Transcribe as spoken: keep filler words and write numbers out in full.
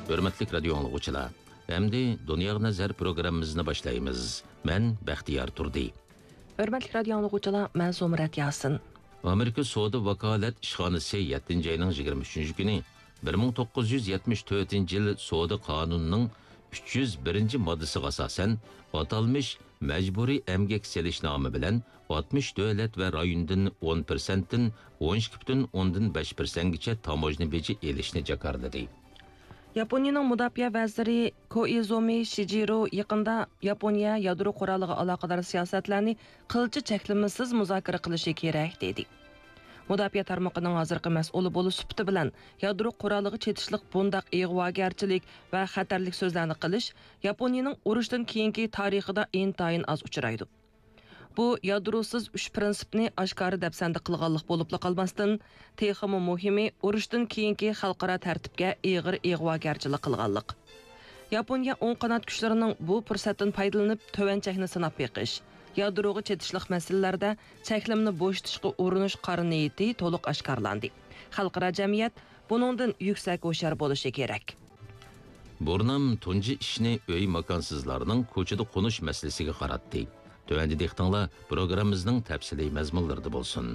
ھۆرمەتلىك رادىيو ئاڭلىغۇچىلار، ئەمدى دۇنياغا نەزەر پروگراممىمىزنى باشلايمىز. مەن بەختىيار تۇردى. ھۆرمەتلىك رادىيو ئاڭلىغۇچىلار، مەن زۇمرەت ياسىن. ئامېرىكا سودا ۋاكالەت ئىشخانىسى يەتتىنچى ئاينىڭ يىگىرمە ئۈچىنچى كۈنى بىر مىڭ توققۇز يۈز يەتمىش تۆتىنچى يىل سودا قانۇنىنىڭ ئۈچ يۈز بىرىنچى ماددىسىغا ئاساسەن، ئاتالمىش مەجبۇرىي ئەمگەك سېلىشنامە بىلەن ئاتمىش دۆلەت ۋە رايوندىن ئون پىرسەنتتىن ئون ئىككى پۈتۈن ئوندىن بەش پىرسەنتكىچە تاموژنا بېجى ئېلىشنى جاكارلىدى. ياپونىيىنىڭ مۇداپىئە ۋەزىرى كوئىزۇمى شىجىرو يېقىندا ياپونىيە يادرو قورالىغا ئالاقىدار سىياسەتلەرنى قىلچە چەكلىمىسىز مۇزاكىرە قىلىشى كېرەك، دېدى. مۇداپىئە تارمىقىنىڭ ھازىرقى مەسئۇلى بولۇش سۈپىتى بىلەن، يادرو قورالىغا چېتىشلىق بۇنداق ئىغۋاگەرچىلىك ۋە خەتەرلىك سۆزلەرنى قىلىش ياپونىيىنىڭ ئۇرۇشتىن كېيىنكى تارىخىدا ئىنتايىن ئاز ئۇچرايدۇ. بۇ يادروسىز ئۈچ پىرىنسىپنى ئاشكارا دەپسەندە قىلغانلىق بولۇپلا قالماستىن، تېخىمۇ مۇھىمى، ئۇرۇشتىن كېيىنكى خەلقئارا تەرتىپكە ئېغىر ئىغۋاگەرچىلىك قىلغانلىق. ياپونىيە ئوڭ قانات كۈچلىرىنىڭ بۇ پۇرسەتتىن پايدىلىنىپ، تۆۋەن چەكنى سىناپ بېقىش، يادروغا چېتىشلىق مەسىلىلەردە چەكلىمىنى بوشىتىشقا ئۇرۇنۇش قارا نىيىتى تولۇق ئاشكارىلاندى. خەلقئارا جەمئىيەت بۇنىڭدىن يۈكسەك ھوشيار بولۇشى كېرەك. بۇرنام تۇنجى ئىشنى ئۆي ماكانسىزلارنىڭ كوچىدا قونۇش مەسىلىسىگە قاراتتى. تۆۋەندە دىققىتىڭلار پروگراممىمىزنىڭ تەپسىلىي مەزمۇنلىرىدا بولسۇن.